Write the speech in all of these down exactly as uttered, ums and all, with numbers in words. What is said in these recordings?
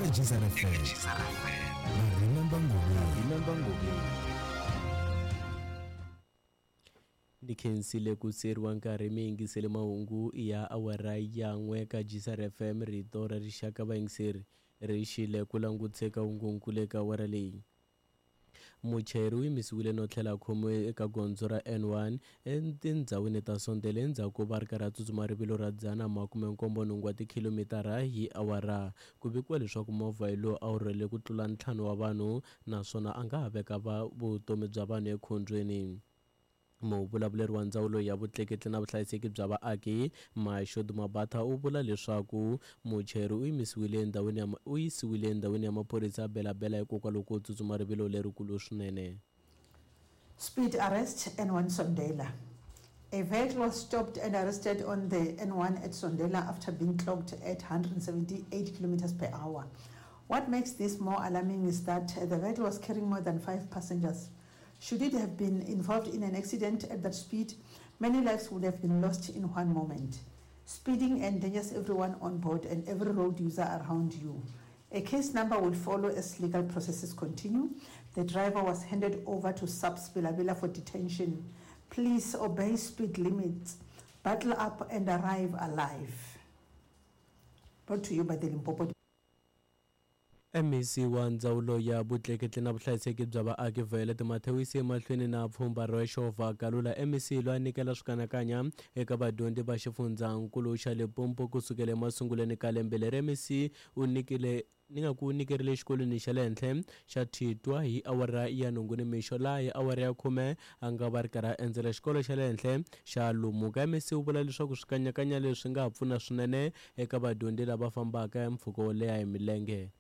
eka G S R F M na Remember Ngobeni. Remember Ngobeni. Ni khensile ku tseriwa nkarhi mi yingisele mahungu ya awara ya n'we ka G S R F M, rito ra rixaka. Vayingiseri, ri xile ku languteka hungunkulu eka awara leyi. Muchayeri u yimisiwile no tlhela a khomiwe eka gondzo ra N one etindhawini ta Sondela endzhaku ko va ri karhi a tsutsuma rivilo ra dzana makume nkombo nhungu wa tikhilomitara hi awara. Ku vikiwa leswaku movha hi lowu a wu rhwele ku tlula ntlhanu wa vanhu, naswona a nga ha veka va vutomi bya vanhu ekhombyeni. Muvulavuleri wa ndzawulo ya vutleketli na vuhlayiseki bya vaaki, Mashodu Mabatha, u vula leswaku muchayeri u yimisiwile endhawini ya u yisiwile endhawini ya maphorisa ya Bela-Bela hikokwalaho ko tsutsuma rivilo lerikulu swinene. Speed arrest, N one Sondela. A vehicle was stopped and arrested on the N one at Sondela after being clocked at one hundred seventy-eight kilometers per hour. What makes this more alarming is that the vehicle was carrying more than five passengers. Should it have been involved in an accident at that speed, many lives would have been lost in one moment. Speeding endangers everyone on board and every road user around you. A case number will follow as legal processes continue. The driver was handed over to SAPS Bela-Bela for detention. Please obey speed limits, buckle up and arrive alive. Brought to you by the Limpopo M E C wa ndzawulo ya vutleketli na vuhlayiseki bya vaaki, Violet Mathe, u yise emahlweni na pfhumba ro Xova Kalula. M E C loyi a nyikela swikanakanya eka vadyondzi va xifundzankulu xa Limpopo kusukela emasungulweni ka lembe leri. M E C u nyikile ni nga ku nyikerile exikolweni xa le henhla xa Thitwa hi awara ya nhungu nimixo, laha hi awara ya khume a nga va ri karhi a endzela xikolo xa le henhla xa Lumuka. M E C u vula leswaku swikanyakanya leswi nga ha pfuna swinene eka vadyondzi lava fambaka mpfhuka wo leha hi milenge.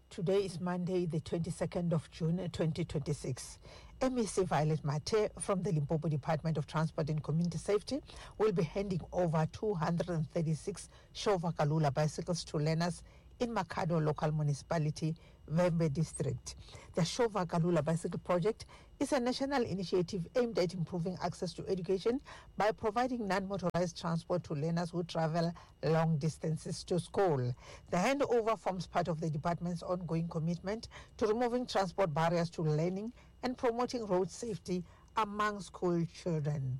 Today is Monday, the twenty-second of June twenty twenty-six. M E C Violet Mathe from the Limpopo Department of Transport and Community Safety will be handing over two hundred thirty-six Shova Kalula bicycles to learners in Makhado Local Municipality, Vhembe District. The Shova Kalula Bicycle Project is a national initiative aimed at improving access to education by providing non-motorized transport to learners who travel long distances to school. The handover forms part of the department's ongoing commitment to removing transport barriers to learning and promoting road safety among school children.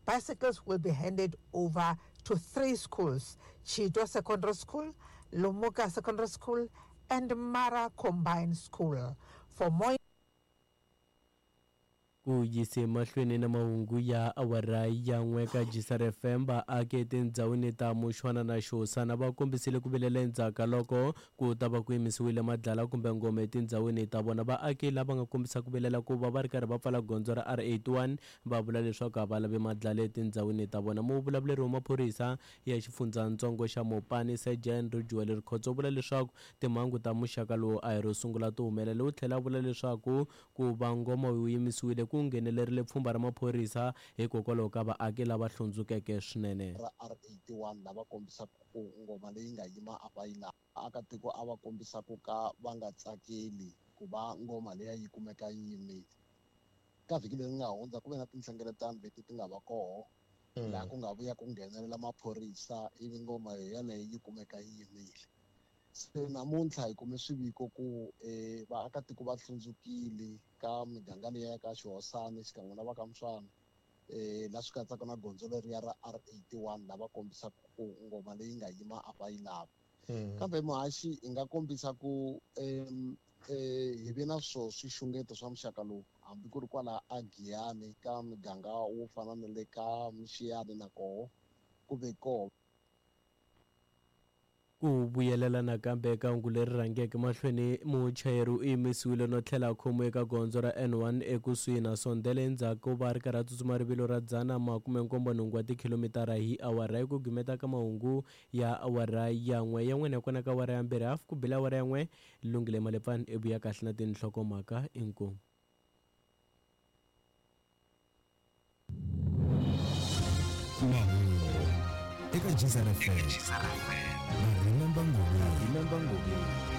Bicycles will be handed over to three schools: Chito Secondary School, Lumuka Secondary School, and Mara Combined School. For more Ku yise mahlweni na mahungu ya awara ya n'we ka G S R F M, vaaki etindhawini ta Mushwana na Xihosana va kombisile ku vilela endzhaku ka loko ku ta va ku yimisiwile madlala kumbe ngoma etindhawini ta vona. Vaaki lava nga kombisa ku vilela ku va va ri karhi va pfala gondzo ra R eighty-one, va vula leswaku a va lavi madlala etindhawini ta vona. Muvulavuleri wa maphorisa ya xifundzatsongo xa Mopani, Sergeant Rijuwele Rikhotso, u vula leswaku timhangu ta muxaka lowu a hi ro sungula ti humelela. U tlhela a vula leswaku ku va ngoma wu yimisiwile ku nghenelerile pfhumba ra maphorisa hikokwalaho ka vaaki lava hlundzukeke swinene. Ra R eighty-one lava kombisaka ku ngoma leyi nga yima a va yi lavi. Vaakatiko a va kombisa ku ka va nga tsakeli ku va ngoma leya yi kumeka yi yimile. Ka vhiki leri nga hundza ku ve na tinhlengeletano leti ti nga va koho laha ku nga vuya ku nghenelela maphorisa, ivi ngoma yeleyo yi kumeka yi yimile. Se namuntlha hi kume swiviko ku um vaakatiko va hlundzukile ka miganga liya ya ka Xihosana xikan'we na va ka Muswana, um la swi katsaka na gondzo leriya ra R eighty-one, lava kombisaka ku ngoma leyi nga yima a va yi lavi. Kambe muhaxi, hi nga kombisa ku um hi ve na swo swixungeto swa muxaka lowu hambi ku ri kwala a Giyani, ka miganga wo fana na le ka Mixiyani, na koho ku ve koho. Ku vuyelela nakambe eka hungu leri rhangeke mahlweni, muchayeri u yimisiwile no tlhela a khomiwa eka gondzo ra N one ekusuhi na Sondela endzhaku ko va ri karhi a tsutsuma rivilo ra dzana makume nkombo nhungu wa tikhilomitara hi awara. Hi ku gimeta ka mahungu ya awara ya n'we ya n'wina kona ka awara ya mbirhi hafu ku bile awara ya n'we, Lungile Malepfani i vuya kahle na tinhlokomhaka. Inkomu. Mahungu eka G S R F M na Remember Ngobeni. Remember Ngobeni.